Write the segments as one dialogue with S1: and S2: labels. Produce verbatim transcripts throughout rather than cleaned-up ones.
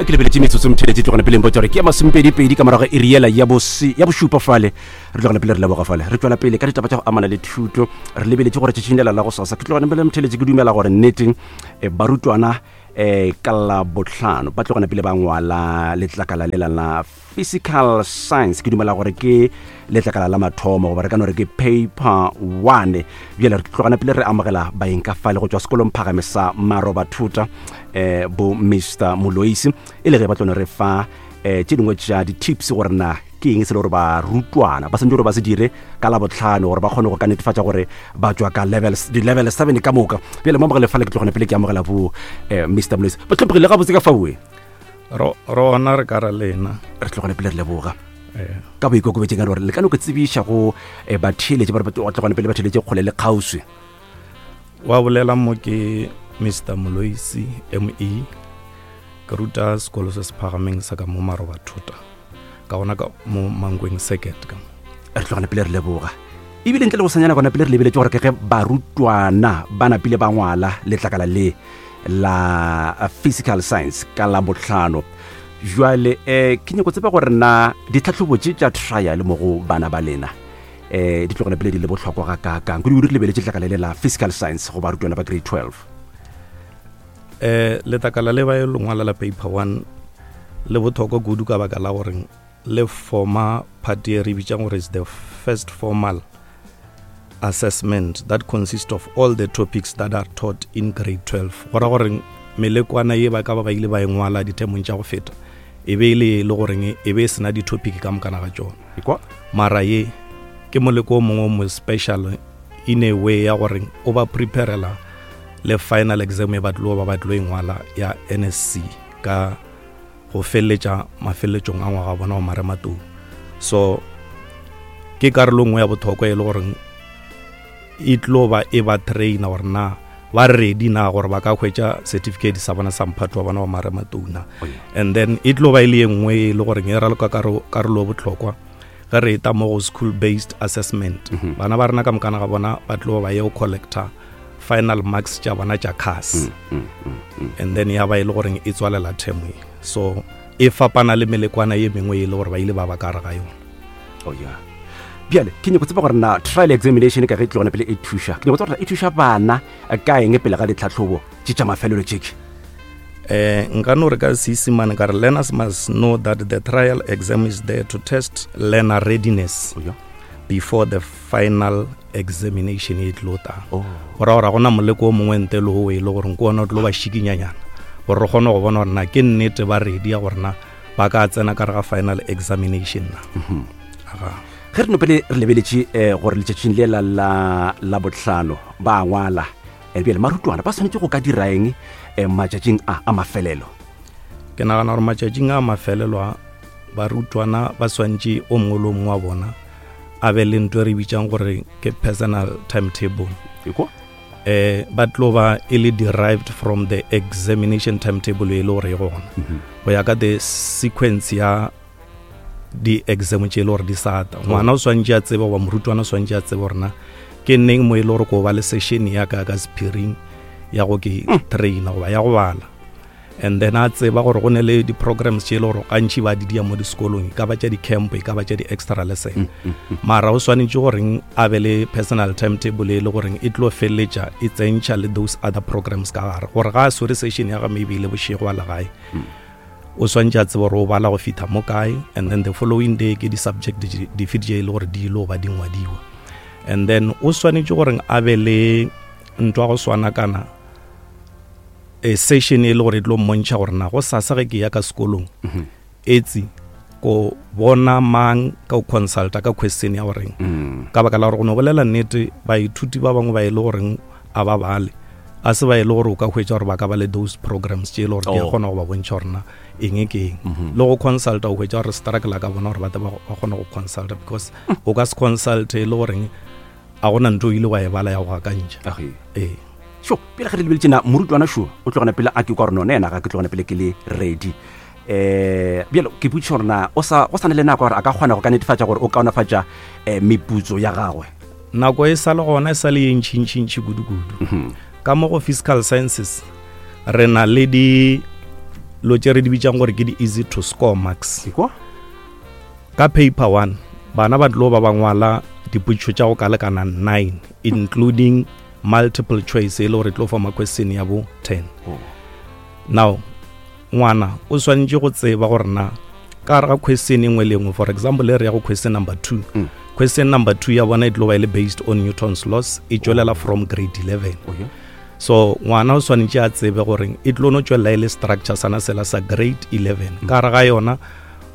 S1: Ke lebeletše metsotso, motheletše, tlogana pele mpotsa gore ke ya masomepedi-pedi ka morago iri yela ya bose- ya bošupa fale. Re tlogana pele re leboga fale, re tswela pele ka ditaba tša go amana le thuto. Re lebeletše gore tšatšing lela la go sasa, ke tlogana pele, motheletše, ke dumela gore nnete eh, barutwana um ka la botlhano ba tlogana pele ba ngwala letlakala lela la physical science. Ke dumela gore ke letlakala la mathomo, goba re ka no re ke paper one. Bjale re tlogana pele re amogela baeng ka fale go tšwa sekolong phagame sa Maroba Thuta, um bo Mister Moloisi, e le ge ba tlone re fa um tše dingwe tša di-tips gore na ke eng se le gore barutwana ba santse gore ba se dire ka la botlhano gore ba kgone go ka netefatša gore ba tšwa ka level di-level seven ka moka. Bjale mo amogele fale, ke tlogana pele ke amogela bo um Mister Moloisi. Ba tlhomphegile gabotse ka faoe?
S2: Ro rona re ka ra lena.
S1: Re tlogane pele re leboga
S2: Eh,
S1: ka boikokobetseng ka gore le ka no ke tsebiša go eh, batheeletše ba re ba tlogane pele ba theeletše kgole le kgauswi.
S2: Wa bolela mo ke Mister Moloisi me, ke ruta sekolo se se phagameng sa ka mo Maroba Thota, ka gona ka mo Mankweng Circuit ka mo.
S1: Re tlogane pele re leboga ebile ntle le go senyana gona pele re lebeletse gore ke ge barutwana ba napile ba ngwala letlakala le la eh, physical science ka la botlhano. Jwale um ke nyako tseba gore na ditlhatlhobo tše tša trial mo go bana ba lena um di tlogane pele di le bohlokwa ga kaakang, kudu re lebeletse letlakala le la physical science go barutwana ba grade twelve?
S2: eh letlakala le ba e lengwala la paper one le botlhokwa kudu ka baka la gore le forma part e re bitsang gore is the first formal assessment that consists of all the topics that are taught in grade twelve. Go ra gore melekwana ye ba ka ba ba ile ba e ngwala dithemong tša go feta e be e le e le goreng e be e sena di-topic ka mokana ga tšona.
S1: Ekwa.
S2: Mara ye ke moleko o mongwe o mo special in a way ya gore o ba preparela le final exam e ba tlo ba ba tlo e ngwala ya N S C ka go feleletša mafeleletsong a ngwaga bona wa marematlou. So ke karolo nngwe ya botlhokwa e le goreng e tlo ba e ba traina gore na ba ready na gore ba ka hwetša certificate sa bona sa mphato wa bona wa marematlou na.
S1: Oh, yeah.
S2: And then e tlo ba e le ye nngwe e le goreng e raloka karo- karolo e botlhokwa ge re eta mo go school based assessment.
S1: Mhm.
S2: Bana ba rena ka mokana ga bona ba tlo ba ye go collecta final marks tša bona tša C A S,
S1: Mm, mm, mm.
S2: and then ya ba e le goreng e tswalela term e. So e fapana le melekwana ye mengwe e le gore ba ile ba ba ka gare ga yona.
S1: Oh yeah, bjale ke nyako tseba gore na trial examination ka ge e tlogana pele e thuša, ke nyako tseba gore e thuša bana eh, ka eng pele ga ditlhatlhobo tše tša mafelelo tšeke?
S2: eh nka no re ka Seesimane ka re learners must know that the trial exam is there to test learner readiness
S1: Oh yeah.
S2: before the final examination e tlo tang.
S1: Oh.
S2: Go ra gore ga gona moleko o mongwe ntle le o e le gore ke ona o tlo ba šikinyanyana gore re kgone go bona gore na ke nnete ba ready ya gore na ba ka tsena ka re ga final examination na. Aga.
S1: Ge re no pele re lebeletše um gore letšatšing le la la la botlhano ba ngwala, um bjale marutwana ba swanetše go ka dira eng um matšatšing a a mafelelo?
S2: Ke nagana gore matšatšing a mafelelo a, barutwana ba swantše o mongwe le o mongwe wa bona a be le ntho e re bitsang gore ke personal timetable.
S1: Ekwa.
S2: eh ba tlo ba e le derived from the examination timetable e le gore e gona go ya ka the sequence ya di-exam tše e le gore di sata. Ngwana o swantše a tsebe goba morutwana o swantše a tsebe gore na ke neng mo e le gore ko ba le session ya ka ka sephiring ya go ke traina goba ya go bala, and then a tseba gore go ne le di-programs tše e le gore gantši ba di dia mo disekolong, e ka ba tša di-camp, e ka ba tša di-extra lesson. Mara o swanetše goreng a be le personal timetable e le goreng e tlo feleletša e tsentšha le those other programs ka gare, gore ga a swere session ya ga maybe e le bošego a legae, o swantše a tseba gore o bala go fitha mo kae, and then the following day ke di-subject di- dife tše e le gore di ile go ba di ngwadiwa. And then o swanetše goreng a be le ntwa go swana kana e session e le gore e tlo mmontšha gore na go sasa ge ke ya ka sekolong etsi ko bona mang ka go consulta ka question ya goreng, ka baka la gore go no bolela nnete, baithuti ba bangwe ba e le goreng a ba bale, a se ba e le gore o ka hwetša gore ba ka ba le those programs tše e le gore di a
S1: Oh.
S2: kgona go ba bontšha gore na eng ke eng le go consulta. O hwetša gore struggle ka bona gore ba tle ba ba kgone go consulta, because o ka se consulte e le goreng a gona ntho o ile wa e bala ya go akantšha.
S1: Age.
S2: Ee.
S1: Sho pele ge re lebeletše na morutwana šo o tlogana pele a ke kwa gore none ena ga ke tlogana pele ke le ready, um bjalo ke potšiša gore na o sa go sa na le nako gore a ka kgona go ka netefatša gore o kaonafatša um meputso ya gagwe?
S2: Nako e sa le gona, e sa le ye ntšhintšhintšhi kudu-kudu. Ka mo go physical sciences re na le di lo tše re di bitsang gore ke di-easy to score marks.
S1: Ekwa?
S2: Ka paper one bana ba tlo ba ba ngwala dipotšišo tša go ka lekana nine, including multiple choice e le gore e tlo forma question ya bo ten.
S1: Oh.
S2: Now ngwana o swanetše go tseba gore na ka gare ga question e nngwe le nngwe, for example e re ya go question number two,
S1: Mm.
S2: question number two ya bona e tlo ba e le based on Newton's laws, e tšwelela from grade eleven.
S1: Oh, yeah.
S2: So ngwana o swanetše a tsebe gore e tlo no tšwelela e le structure sana sela sa grade eleven. Ka gare ga yona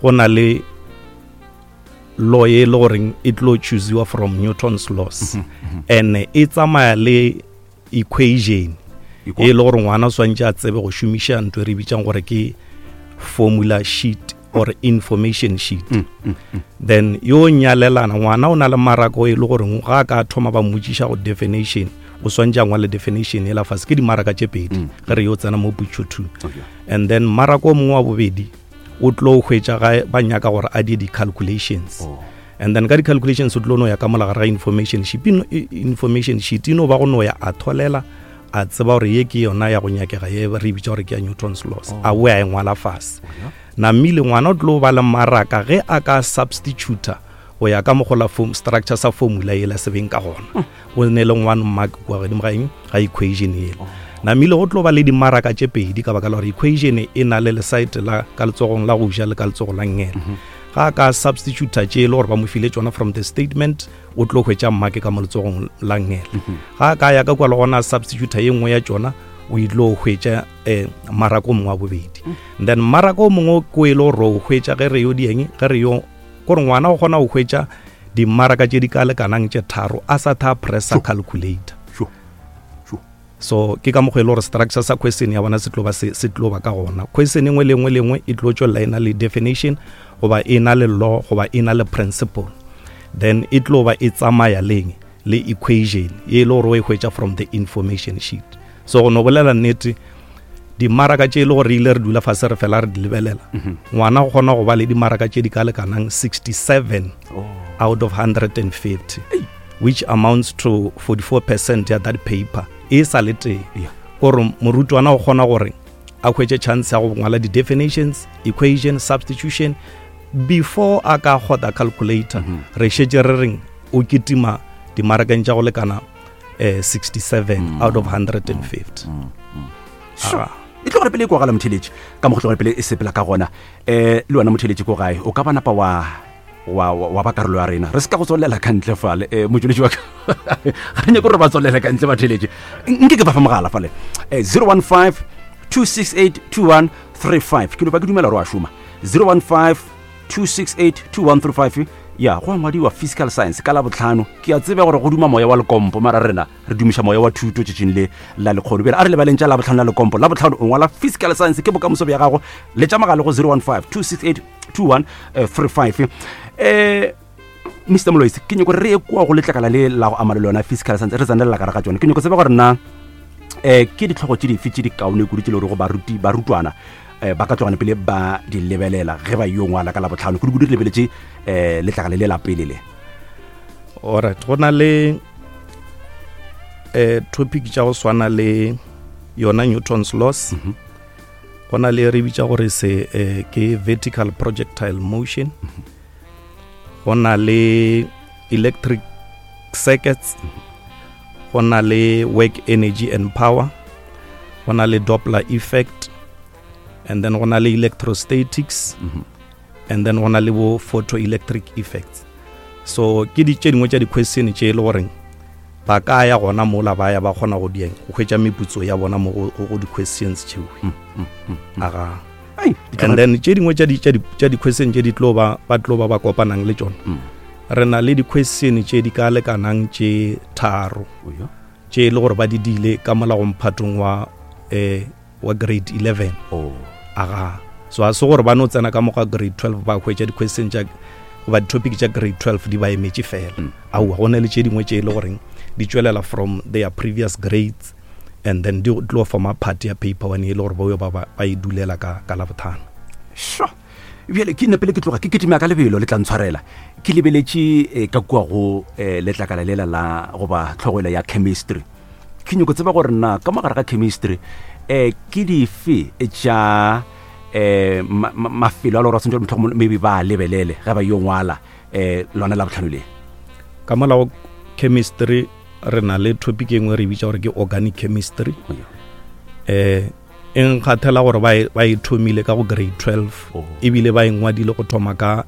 S2: go na le law e le goreng e tlo choosiwa from Newton's laws, and e tsamaya le equation
S1: Ekwa?
S2: e le gore ngwana o swanetše a tsebe go šomiša ntho e re bitsang gore ke formula sheet or information sheet. Then yo nyalelana ngwana o na le marako e le gore ga a ka thoma ba mmotšiša go definition, o swantše a ngwale definition e la fase, ke dimaraka tše pedi ge re yo tsena mo potšo two.
S1: Oh, yeah.
S2: And then marako o mongwe wa bobedi o tlo hwetša ga ba nyaka gore a die di-calculations.
S1: Oh.
S2: And then ka di-calculations o tlo no ya ka mola gare ga information sheet, ino- i- information sheet e no ba go no ya a tholela a tseba gore ye ke yona ya go nyakega ye re e bitša gore ke ya Newton's laws, a boe a e ngwala fase. Namile ngwana o tlo ba le maraka ge a ka substituta go ya ka mogola form structure sa formula yela se beng ka gona, o ne le one mark kua godimo ga eng, ga equation yela. Namile go tlo ba le dimaraka tše pedi ka baka la gore equation e na le lesite la ka letsogong la go ja le ka letsogo la ngele. Ga a ka substituta tše e le gore ba mo file tšona from the statement, o tlo hwetša mark ka mo letsogong la ngele. Ga a ka ya ka kua le gona a substituta ye nngwe ya tšona, o ile hwetša eh, maraka o mongwe wa bobedi. Then maraka o mongwe ko e le gore o hwetša ge re yo dieng, ge re yo kore ngwana o kgona go hwetša dimaraka tše di ka lekanang tše tharo a sa tha pressa calculator.
S1: Sure. Sure.
S2: So ke ka mokgwa e le gore structure sa question ya bona se tlo ba se se tlo ba ka gona. Question e nngwe le nngwe le nngwe e tlo tšwelela e na le definition goba e na le law goba e na le principle, then e tlo ba e tsamaya leng le equation ye e le gore o e hwetša from the information sheet. So go no bolela nnete, dimaraka tše e le gore ile re dula fase re fela re di lebelela, ngwana o kgona go ba le dimaraka tše di ka lekanang sixty-seven
S1: Oh.
S2: out of hundred and fifty, which amounts to forty-four percent ya that paper e sa le tee.
S1: Yeah.
S2: Gore morutwana o kgona gore a hwetše chance ya go ngwala di-definitions, equation, substitution before a ka kgotha calculator. Re šetše re reng o kitima dimarakeng tša go lekana eh, sixty-seven out of hundred and fifty.
S1: Sure. E tlo gore pele e kwagala motheletši ka mo go tlo gore pele e sepela ka gona. Eh, le wena motheletši ko gae o ka ba napa wa wa wa wa ba karolo ya rena, re se ka go tswalela ka ntle fale. Eh, motšweletši wa ka ga re nyake gore ba tswalela ka ntle batheletši, nke ke ba fa mogala fale. Eh, zero one five two six eight two one three five, ke no ba ke dumela gore wa šoma. zero one five two six eight two one three five, ya go ngwadiwa physical science ka Labohlano. Ke a tseba gore go duma moya wa lekompo, mara rena re dumiša moya wa thuto tšatšing le la lekgono. Bjale a re lebaleng tša Labohlano la lekompo. Labohlano o ngwala physical science, ke bokamoso bja gago. Letša mogala go zero one five two six eight two one three five. Eh, Mister Moloisi, ke nyako re ye kua go letlakala le la go ama le lona physical science, re tsenelela ka gare ga tšona. Ke nyako tseba gore na eh, ke ditlhogo tše dife tše di kaone kudu tše le gore go baruti, barutwana eh, ba ka tlogana pele ba di lebelela ge ba yo ngwala ka Labohlano, kudu-kudu re lebeletše eh, letlakala le la pele le.
S2: Alright, go na le eh, topic tša go swana le yona Newton's laws. Go na le re bitša gore se eh, ke vertical projectile motion. Go na le electric circuits. Go na le work energy and power. Go na le Doppler effect. And then go na le electrostatics. And then go na le bo photoelectric effects. So ke di tše dingwe tša di-question tše e le goreng ba ka ya gona mola ba ya ba kgona go dieng go hwetša meputso ya bona mo go, go di-questions tšeo. Aga.
S1: Ai, di
S2: And then tše dingwe tša di, tša di, tša di-question tše di tlo ba, ba tlo ba ba kopanang le tšona. Re na le di-question tše di ka lekanang tše tharo
S1: Oh, yeah.
S2: tše e le gore ba di dile ka mola go mphatong wa, eh, wa grade eleven.
S1: Oh.
S2: Aga. So a se gore ba no tsena ka mo ga grade twelve ba hwetša di-question tša goba di-topic tša grade twelve di ba emetše fela. Aowa, go na le tše dingwe tše e le goreng di tšwelela from their previous grades, and then di tlo forma part ya paper one e le gore ba yo ba, ba, ba e dulela ka, ka Labohlano.
S1: Sure. Bjale ke nna pele ke tloga ke kitima ka lebelo le tla ntshwarela. Ke lebeletše, eh, ka kua go, eh, letlakala lela la goba tlhogo ya chemistry. Ke nyako tseba gore na ka mogare ga chemistry, eh, ke dife tša, um mafelo a le gore ba tshwanetse gore mohlomongwe maybe ba a lebelele ge ba yo ngwala um lona la botlhano le?
S2: Ka mola go chemistry re na le topic e nngwe re bitša gore ke organic chemistry.
S1: Oh, yeah.
S2: Eh, e nkgathela gore ba e, ba e thomile ka go grade twelve,
S1: Oh.
S2: ebile ba e ngwadile go thoma ka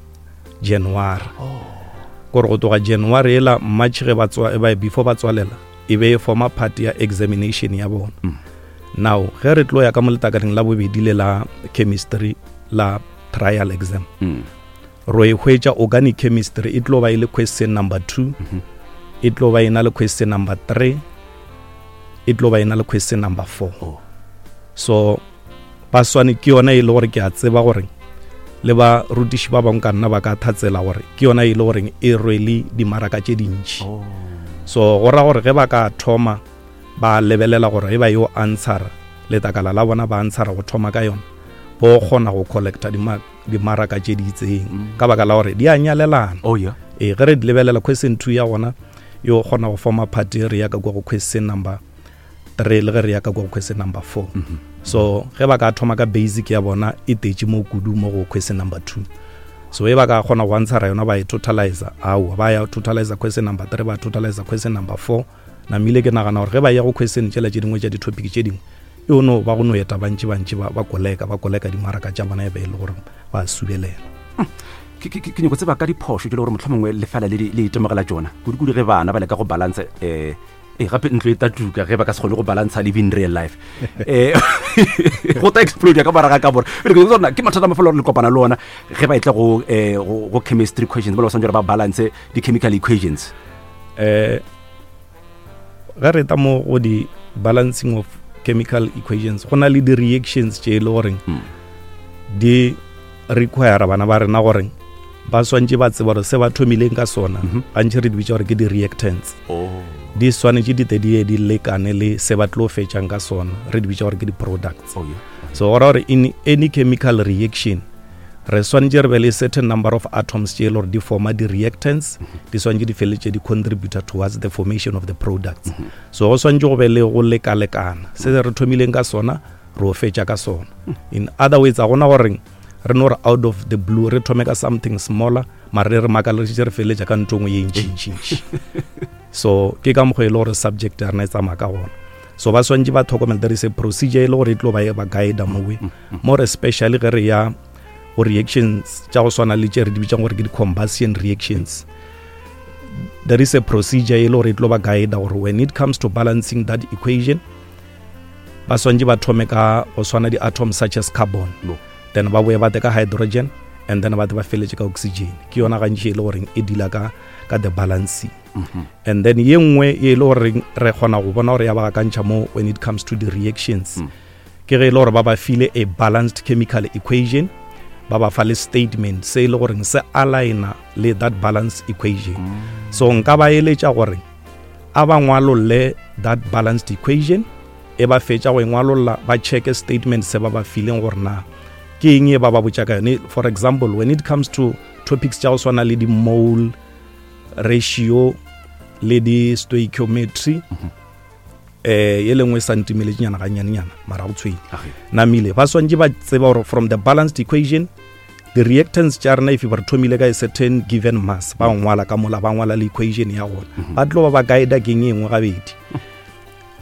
S2: January.
S1: Oh.
S2: Gore go tloga January ela March ge ba tswa, ba, before ba tswalela, e be e forma part ya examination ya bona.
S1: Mm.
S2: Now ge re tlo ya ka mo letakaleng la bobedi le la chemistry la trial exam,
S1: Mm.
S2: ro e hwetša organic chemistry e tlo ba e le question number two,
S1: Mm-hmm.
S2: e tlo ba e na le question number three, e tlo ba e na le question number four.
S1: Oh.
S2: So ba swane ke yona e le gore ke a tseba gore le ba rutiši ba bangwe ka nna ba ka thatsela gore ke yona e le gore e rwele dimaraka tše dintši.
S1: Oh.
S2: So go ra gore ge ba ka thoma ba lebelela gore e ba yo answera letakala la bona, ba answera go thoma ka yona, bo kgona go collecta dima-, dimaraka tše di itseng.
S1: Mm.
S2: Ka baka la gore di a nyalelana.
S1: Oh, yeah.
S2: Ee, ge re di lebelela question two ya gona yo kgona go forma part e re ya ka kwa go question number three le ge re ya ka kwa go question number four.
S1: Mm-hmm.
S2: So ge ba ka thoma ka basic ya bona e tetše mo kudu mo go question number two. So e ba ka kgona go answera yona ba e totalizer, aowa ba ya totalizer question number three, ba totalizer question number four. Namile ke nagana gore ge ba ya go question tšela tše dingwe tša di-topic tše dingwe, e o no ba go no eta bantši bantši ba, ba koleka, ba koleka dimaraka tša bona e be e le gore ba subelela.
S1: Ke, ke, ke, ke nyako tseba ka diphošo tše le gore mohlomongwe le fela le di, le itemogela tšona kudu-kudu ge bana ba leka go balance, eh, eh, gape ntlo e tatuka ge ba ka se kgone go balantsha live in real life. Eh, go tla explode ka morago ga ka bore. Pele ke tsona ke mathata a mafelo le kopana le ona ge ba etla go, eh, go, go chemistry questions, ba le ba swanetše gore ba balance di-chemical equations.
S2: Eh, ge re ta mo go di balancing of chemical equations, go na le di-reactions tše e le goreng
S1: Hmm.
S2: di require bana ba rena gore ba swantše ba tseba gore se ba thomileng ka sona,
S1: Mhm.
S2: gantši re di bitša gore ke di-reactants.
S1: Oh.
S2: Di swanetše di tle di ye di lekane le se ba tlo fetšang ka sona, re di bitša gore ke di-products.
S1: Oh, yeah.
S2: So go ra gore in any chemical reaction re swanetše re be le certain number of atoms tše e le gore di forma di-reactants,
S1: Mhm.
S2: di swanetše di feleletše di contributor towards the formation of the products.
S1: Mhm.
S2: So go swanetše go be le go lekalekana se re thomileng ka sona, re o fetša ka sona.
S1: Mhm.
S2: In other words, a gona gore re no re out of the blue re thome ka something smaller, mare re makaleletše re feleletša ka ntho e nngwe ye ntšintšintši. So ke ka mokgwa e le gore subject ya rena e tsamaya ka gona. So ba swantše ba tlhokomele, there is a procedure e le gore e tlo ba e ba guide mowe, more especially ge re ya go reactions tša go swana le tše re di bitsang gore ke di-combustion reactions. There is a procedure e le gore e tlo ba guide gore when it comes to balancing that equation, ba swantše ba thome ka go swana di-atoms such as carbon,
S1: No.
S2: then ba boe ba tle ka hydrogen, and then ba tle ba feletse ka oxygen. Ke yona gantši e le goreng e deala ka, ka the balancing.
S1: Mm-hmm.
S2: And then ye nngwe e le goreng re kgona go bona gore ya ba gakantšha mo when it comes to the reactions,
S1: Mm.
S2: ke ge e le gore ba ba file a balanced chemical equation, ba ba fa le statement se e le goreng se aligna le that balanced equation.
S1: Mm.
S2: So nka ba eletša gore a ba ngwalolle that balanced equation, e ba fetša go e ngwalolla ba checke statement se ba ba fileng gore na ke eng e ba ba botša ka yone. For example, when it comes to topics tša go swana le di-mole ratio le di-stoichiometry,
S1: Mm-hmm.
S2: eh, ye lengwe e sa ntimeletšenyana ganyanenyana, mara go tshwenye.
S1: Age.
S2: Namile ba swantše ba tseba gore from the balanced equation, the reactants tša rena if ba re thomile ka a certain given mass, ba ngwala ka mola, ba ngwala le equation ya gona,
S1: Mm-hmm.
S2: ba tlo ba ba guide keng e nngwe gabedi.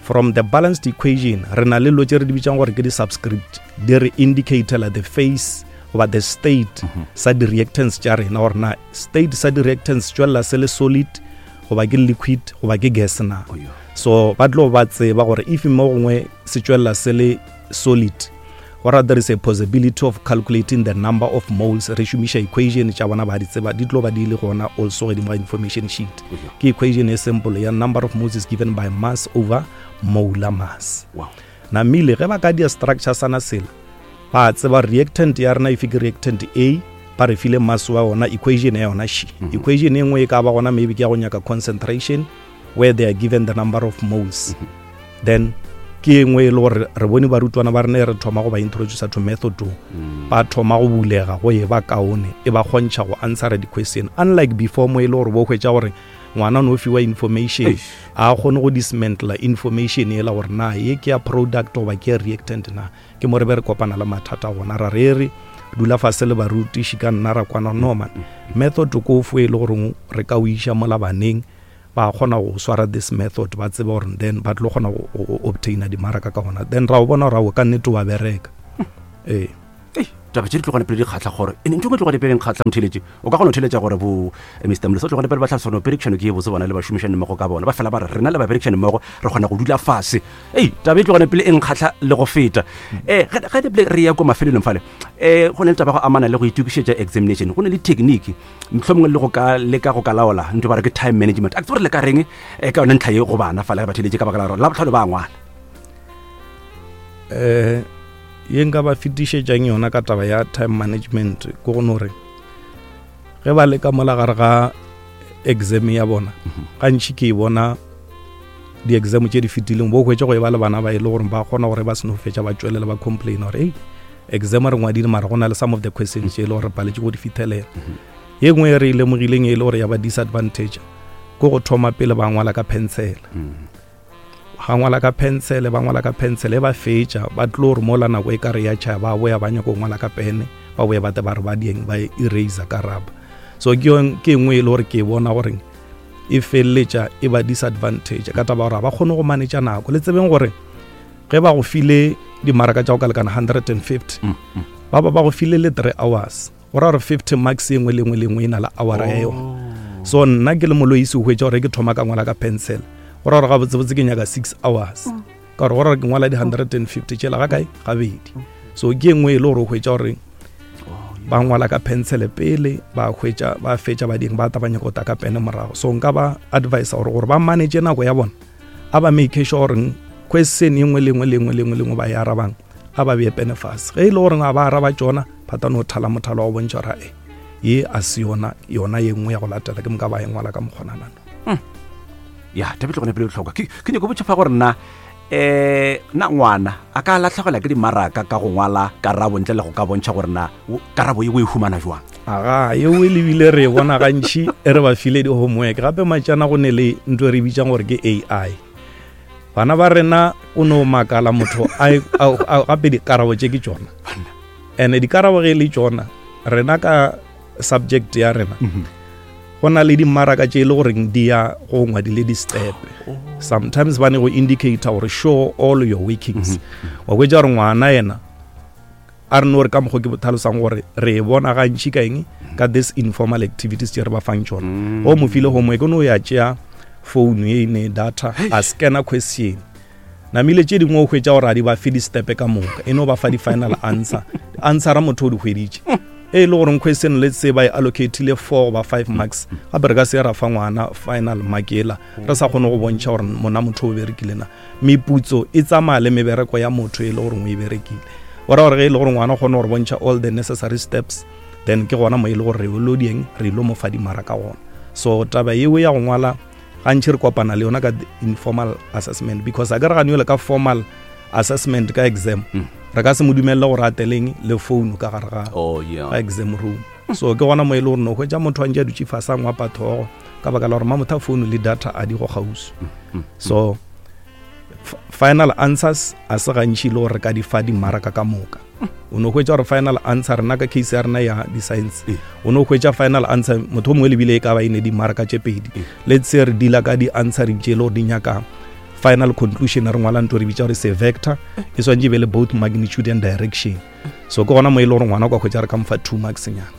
S2: From the balanced equation re na le dilo tše re di bitsang gore ke di-subscript, di re indicatela the phase goba the state
S1: Mm-hmm.
S2: sa di-reactants tša rena, gore na state sa di-reactants tšwelela se le solid goba ke liquid goba ke gas na.
S1: Oh, yeah.
S2: So ba tlo ba tseba gore if mo gongwe se tšwelela se le solid, go ra there is a possibility of calculating the number of moles, re šomiša equation tša bona ba di tseba, di tlo ba di le gona also godimo ga information sheet.
S1: Yeah.
S2: Ke equation e simple ya number of moles is given by mass over molar mass.
S1: Wow.
S2: Namile ge ba ka dia structure sana sela, ba tseba reactant ya rena if ke reactant A, ba re file mass wa yona, equation ya yona she.
S1: Mm-hmm.
S2: Equation e nngwe e ka ba gona maybe ke ya go nyaka concentration where they are given the number of moles.
S1: Mm-hmm.
S2: Then ke e nngwe e le gore re bone barutwana ba rena e re thoma go ba introducer to method o,
S1: Mm.
S2: ba thoma go bulega go e ba kaone, e ba kgontšha go answera di-question, unlike before mo e le gore bo hwetša gore Ngwana o no fiwa information, a kgone go dismantla information ela gore na ye ke ya product goba ke ya reactant na. Ke mo re be re kopana le mathata gona, ra re re dula fase le barutiši ka nna ra kwana, no man, method ko fo e le gore re ka o iša mola baneng ba kgona go swara this method, ba tseba gore then ba tlo kgona go obtaina dimaraka ka gona. Then ra o bona gore ao ka nnete wa bereka. Ee,
S1: taba tše di tlogane pele di kgatlha gore ene ntho e tlogane pele kgatlha motheletše. O ka kgona go theletša gore bo Mister Molosa tlogane pele ba tlhalosa gore perekšano ke e botse, bona le bašomišane mmogo ka bona ba fela ba re rena le baberekšane mmogo re kgona go dula fase. Ei, taba e tlogane pele e nkgatlha le go feta. um ge pele re ya ko mafelelong fale, um go ne le taba go amana le go itokišetša examination, go ne le technique mohlomongwe le go ka leka go ka laola ntho ba re ke time management. A ke tsebe gore le ka reng ka yone ntlha ye go bana fale ge ba theletše, ka baka la gore la botlhano ba ngwala.
S2: Um ye nka ba fetišetšang yona ka taba ya time management ke go no re ge ba leka mola gare ga exam ya bona, gantši ke e bona di-exam tše di fetileng bo hwetše go e ba le bana ba e le gore ba kgona gore ba seno fetša ba tšwelela ba complain gore ei, exam re ngwadile mara go na le some of the questions tše e le gore re paletše go di fithelela. Ye nngwe e re e lemogileng e le gore ya ba disadvantage ke go thoma pele ba ngwala ka pencil. Ga ngwala ka pencil, ba ngwala ka pencil e ba fetša ba tlo re mola nako e ka re ya tšhaya ba boya ba nyaka go ngwala ka pene, ba boya ba te ba re ba dieng ba eraser ka rubber. So ke ke nngwe e le gore ke bona gore e feleletša e ba disadvantage ka taba gore ba kgone go manage nako. Le tsebeng gore ge ba go file dimaraka tša go ka lekana hundred and fifty, ba ba ba go file le three hours, go ra gore fifty marks e nngwe le nngwe le nngwe e na le hour ya yona. So nna ke le moloisi o hwetša gore ke thoma ka ngwala ka pencil, go ra gore gabotsebotse ke nyaka six hours, ka gore go ra gore ke ngwala di hundred and fifty tšela ga kae gabedi. So ke nngwe e le gore o hwetša gore ba ngwala ka pencil pele ba hwetša ba fetša ba ding ba ta ba nyaka go ta ka pene morago. So nka ba advise gore gore ba manage nako ya bona, a ba make sure gore question e nngwe le nngwe le nngwe le nngwe le nngwe ba e arabang a ba bee pene fase. Ge e le gore ga ba araba tšona, ba tla no thala mothalo wa go bontšha gore e ye a se yona yona ye nngwe ya go latela, ke moka ba e ngwala ka mokgonanano.
S1: Ya taba e tlogane pele bohlokwa. Ke ke nyako botša fa gore nna eh na ngwana a ka latlhegelwa ke dimaraka ka go ngwala karabo ntle le go ka bontšha gore na karabo ye o e humana jwang.
S2: Aga yeo e lebile re e bona gantši e re ba file di-homework. Gape matšana go ne le ntho e re bitsang gore ke A I. Bana ba rena o no makala motho a gape dikarabo tše ke tšona, and dikarabo ge e le tšona rena ka subject ya rena go na le dimaraka tše e le goreng di ya go ngwadile di-step. Sometimes ba ne go indicator gore show all your workings. Wa hwetša gore ngwana yena a re no re ka mokgwa ke tlhalosang gore re e bona gantši ka eng, ka this informal activities tše re ba fang tšona. Go mo file homework, o no ya tšea phone ye ne data a scanner question, namile tše dingwe o hwetša gore a di ba fe di-step ka moka, e no ba fa di-final answer. Answera motho o di hweditše e le gore question let's say ba e allocatile four goba five marks, gape re ka se ra fa ngwana final mark ela re sa kgone go bontšha gore mona motho o berekile na. Meputso e tsamaya le mebereko ya motho e le gore o e berekile. O ra gore ge e le gore ngwana o kgone gore bontšha all the necessary steps, then ke gona mo e le gore re lo dieng re lo mo fa dimaraka gona. So taba yeo ya go ngwala gantši re kopana le yona ka informal assessment, because a ka re gane ka formal assessment ka exam re ka se mo dumelle gore a teleng le phone ka gare ga exam room. So ke gona mo e le gore no hwetša motho a ntše a dutše fase a ngwapa thogo ka baka la gore mamotho a phone le data a di go kgauswi. So final answers a se gantši le gore re ka di fa dimaraka ka moka. O no hwetša gore final answer rena ka case ya rena ya di-science, o no hwetša final answer motho o mongwe lebile e ka ba e ne dimaraka tše pedi. Let's say re deala ka di-answering tše e le gore di nyaka final conclusion, re ngwala ntho re bitša gore se vector, e swantše e be le both magnitude and direction. So ke gona mo e le gore ngwana o ka hwetša re ka mofa two marks nyana,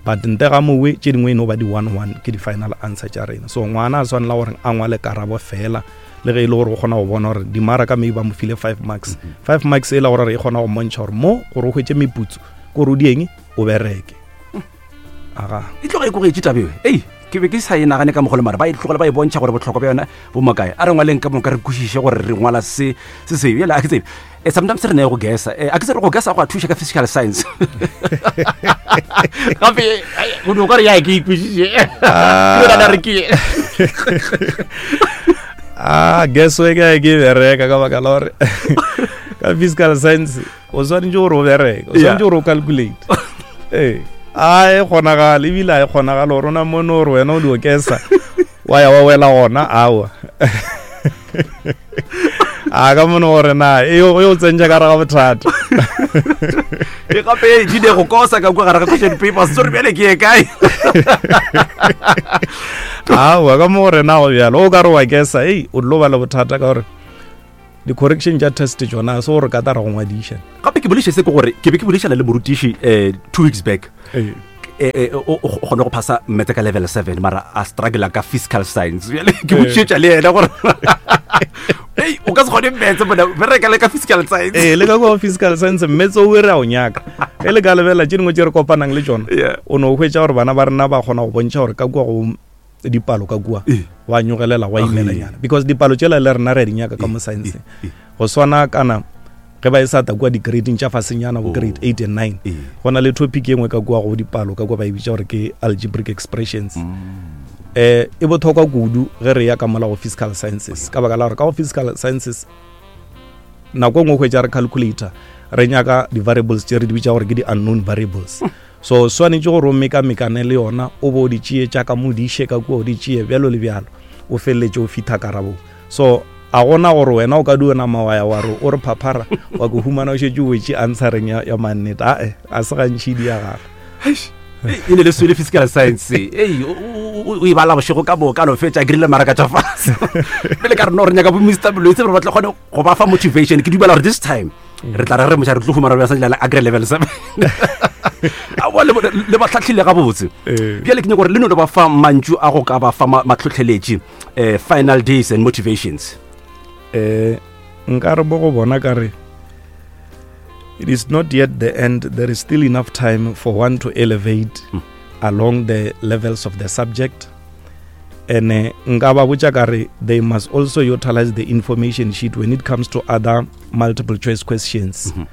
S2: but nte ga mowe tše dingwe e no ba di one one ke di-final answer tša rena. So ngwana a swanela gore a ngwale karabo fela, le ge e le gore o kgona go bona gore dimaraka maybe ba mo file five marks, five marks e la gore e kgona go mmontšha gore mo gore o hwetše meputso ke gore o dieng o bereke. Aga
S1: e tloga e kogetše tabeo ei ke be ke sa e nagane ka mogolo, mara ba e tlogela ba e bontšha gore bohlokwa bja yona bo makae. A re ngwaleng ka moka re kwešiše gore re ngwala se se se bjale a ke tsebe. Eh, sometimes re ne go gesa, a ke tsebe go gesa go a thuša ka physical science gape go no ka re ya ke ikwešiše ke re ke
S2: ah guess we ka ke bereka ka baka la gore ka physical science o swanetše gore o bereke, o swanetše gore o calculate. Ee, a e kgonagale ebile a e kgonagale gore o na mone gore wena o di okesa Wa ya wa wela gona awa. A ka mono gore na e o tsentša ka gare ga bothata.
S1: E gape di ne go kosa ka kwa gare ga question papers tsore bjale ke ye kae.
S2: Aowa ka mo gore na go bjalo o ka re wa kesa ei o tlo ba le bothata ka gore di-correction tša test tšona se gore ka tara go ngwadiša.
S1: Gape ke boleiše se ke gore ke be ke boleišana le morutiši um two weeks back o kgone go phasa mmetse ka level seven mara a struggle ka fiscal science. Bjale ke botšietša le yena gore ei o ka se kgone mmetse bona bereka le ka fiscal science.
S2: Ee le ka kwa fiscal science mmetse o re a o nyaka. Ge le ka lebelela tše dingwe tše re kopanang le tšona o no hwetša gore bana ba rena ba kgona go bontšha gore ka kua go dipalo ka kua wa nyogelela wa imelanyana because dipalo tšela le rena re a di nyaka ka mo science. Go swana kana ge ba e sa ta kua di-grading tša fasenyana bo grade eight and nine go na le topic e nngwe ka kua go dipalo ka kua ba e bitša gore ke algebraic expressions. Eh e bothokwa kudu ge re ya ka mola go fiscal sciences ka baka la gore ka go fiscal sciences nako e nngwe hwetša re calculator re nyaka di-variables tše re di bitša gore ke di-unknown variables. So swanetše gore o mekamekane le yona o bo o di tšee tša ka mo di iše ka kua o di tšee bjalo le bjalo o feleletše o fitha karabong. So a gona gore wena o ka di ona mawaya wa re o re phaphara wa ko humana o šetše o wetše answereng ya, ya mannete. Ae a se gantši di ya gala
S1: e ne le swele fiscal science ei o e bala bošego ka moka no fetša krile maraka tša fase. Pele ka re no re nyaka bo Mister Molwetse gore ba tle kgone go ba fa motivation. Ke dumela gore this time re tla re re moša re tlo humana re sa a grade level seven. Aowa le ba hlahlile gabotse. Bjale ke nyaka gore le no le ba fa mantšu a go ka ba fa matlhotlheletši um final days and motivations.
S2: Eh nka re bo go bona ka re it is not yet the end, there is still enough time for one to elevate mm. along the levels of the subject. And nka ba botša ka re they must also utilize the information sheet when it comes to other multiple choice questions. Mm-hmm.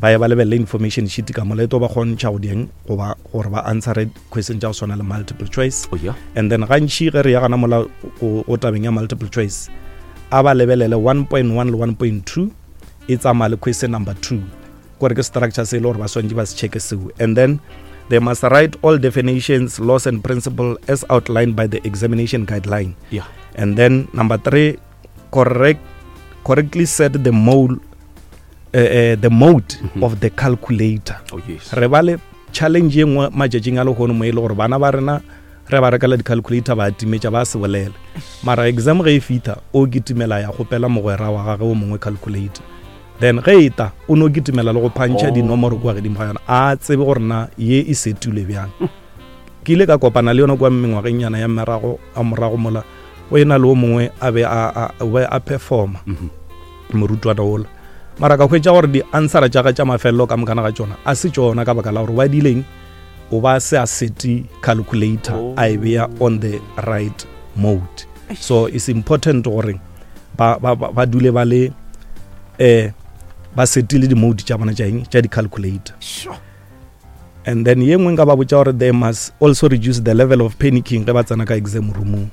S2: Ba ye ba lebelele information sheet ka mola e tlo ba kgontšha go dieng goba gore ba answere question tša go swana le multiple choice.
S1: Oh, yeah.
S2: And then gantši ge re ya gana mola go tabeng ya multiple choice a ba lebelele one point one le one point two e tsamaya le question number two gore ke structure se e le gore ba swantše ba se checke seo. And then they must write all definitions, laws and principle as outlined by the examination guideline.
S1: Yeah.
S2: And then number three, correct correctly set the mode uh, uh, the mode mm-hmm. of the calculator.
S1: Oh, yes.
S2: Re ba le challenge ye nngwe matšatšing a lehono mo e le gore bana ba rena re ba rekela di-calculator ba timetša ba se bolele mara exam ge e fitha o kitimela ya kgopela mogwera wa gage o mongwe calculator. Then ge e ta o no kitimela le go phantšha dinomoro kua godimo ga yona a tsebe gore na ye e setule bjang. Ke ile ka kopana le yona kua mengwageng nyana ya merago a morago mola o ena le o mongwe a be a a performa morutwana ola mara ka hwetša gore di-answera tša ga tša mafelelo ka mokana ga tšona a se tšona ka baka la gore ba dileng o ba se a seti calculator oh. a e beya on the right mode. So it's important gore ba ba ba dule ba le eh ba setile di-mode tša bona tša eng tša di-calculator.
S1: Sure.
S2: And then ye nngwe nka ba botša gore they must also reduce the level of panicking ge ba tsena ka exam roomong.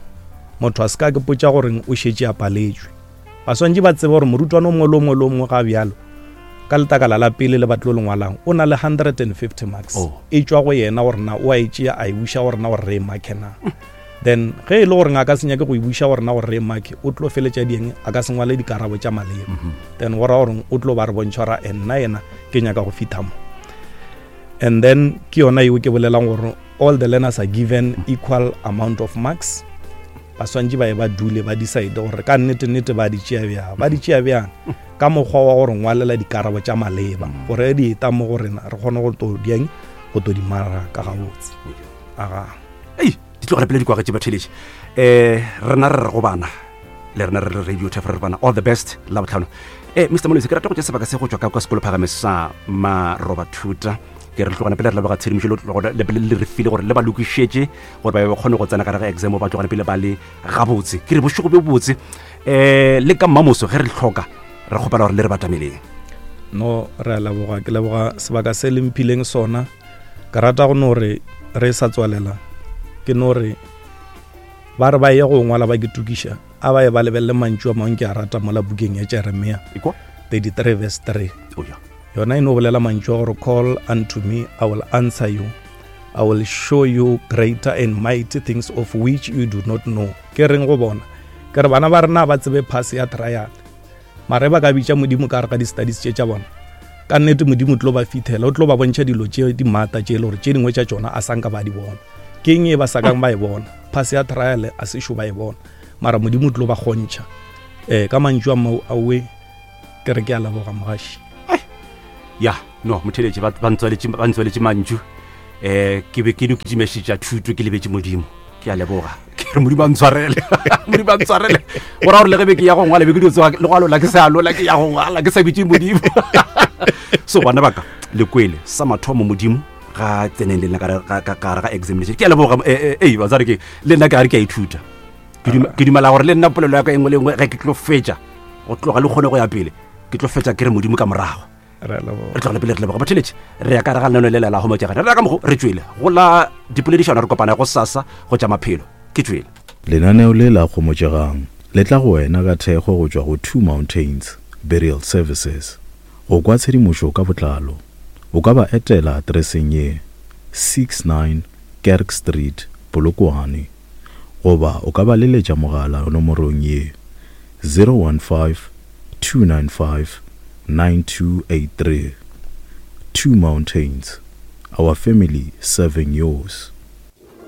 S2: Motho a se ka ke potša gore o šetše a paletšwe. Ba swantše ba tsebe gore morutwana o mongwe le o mongwe le o mongwe ga bjalo ka letakala la pele le batlo le ngwalang o na le one hundred fifty marks.
S1: Oh.
S2: E tšwa go yena gore na o a e tšea a e buša gore na gore re e marke na. Then ge e le gore a ka se nyake go e buša gore na gore re e marke o tlo feletša dieng a ka se ngwale dikarabo tša maleba. Then go ra gore o tlo ba re bontšha gore nna yena ke nyaka go fitha mo. And then ke yona yeo ke bolelang gore all the learners are given equal amount of marks. Ba swantše ba ye ba dule ba decide gore ka nnete nnete ba di tšea bjang ba di tšea bjang ka mokgwa wa gore ngwalela dikarabo tša maleba gore di eta mo go rena re kgone go to dieng go to di maraka gabotse. Aga
S1: ei di tlogela pele dikwaga tše batheletše eh rena re re go bana le rena re re radio Thef re bana all the best la botlhano. Eh Mister Molwetse ke rata go tša sebaka se go tšwa ka kwa sekolo phagame sa Marobathuta ke re tlogana pele re leboga tshedimošo le tlogana le pele le re file gore le ba lokišetše gore ba be ba kgone go tsena ka gare ga exam ba tlogana pele ba le gabotse. Ke re bošego bjo botse eh le ka mmamoso ge re hloka re kgopela gore le re batameleng.
S2: No re a leboga ke leboga sebaka se le mphileng sona. Ke rata go no re re sa tswalela ke no re ba re ba ye go ngwala ba ke tukiša a ba ye ba lebelele mantšu a mangwe ke a rata mola bukeng ya Jeremia thirty-three verse three.
S1: Oh, yeah.
S2: Yona e no bolela mantšu a gore call unto me I will answer you I will show you greater and mighty things of which you do not know. Ke reng go bona? Ke re bana ba rena ba tsebe pass ya trial. Mare ba ka bitša Modimo ka gare ga di-studies tše tša bona. Ka nnete Modimo o tlo ba fithela, o tlo ba bontšha dilo tše di maata tše e le gore tše dingwe tša tšona a sanka ba di bona. Ke eng e ba sa kang ba e bona? Pass ya trial a sešo ba e bona. Mara Modimo o tlo ba kgontšha. Eh, ka mantšu a mau awe ke re ke a leboga mogaši.
S1: Ya no motheletše ba ba ntswaletše ba ntswaletše mantšu. Um ke be ke no kitimešetša thuto ke lebetše Modimo. Ke a leboga, ke re Modimo a ntshwarele, Modimo a ntshwarele. Go ra gore le ge be ke ya go ngwala, be ke dio tsoga le go alola, ke sa alola, ke ya go ngwala ke sa bitše Modimo. So bana baka le kwele sa mathomo, Modimo ga tseneng le nna ka gare ga examination. Ke a leboga. Ei batswadi, ke le nna ke gare ke a ithuta. Ke dumela gore le nna polelo ya ka engwe le engwe ge ke tlo fetša go tloga le kgone go ya pele, ke tlo fetša ke re Modimo ka morago.
S2: Re
S1: tlogele pele, re leboga batheletše. Re ya ka re ga lenano le lela gomotšegane, re ya ka mogo re tšwele go la dipoledišano, re kopana go sasa go tša maphelo. Ke tšwele.
S3: Lenaneo le la Kgomotšegang le tla go wena ka thekgo go tšwa go Two Mountains Burial Services. Go kwa tshedimošo ka botlalo, o ka ba etela atereseng ye sixty-nine Kerk Street, Polokwane, goba o ka ba leletša mogala nomorong ye zero one five two nine five nine two eight three. Two Mountains, our family serving yours.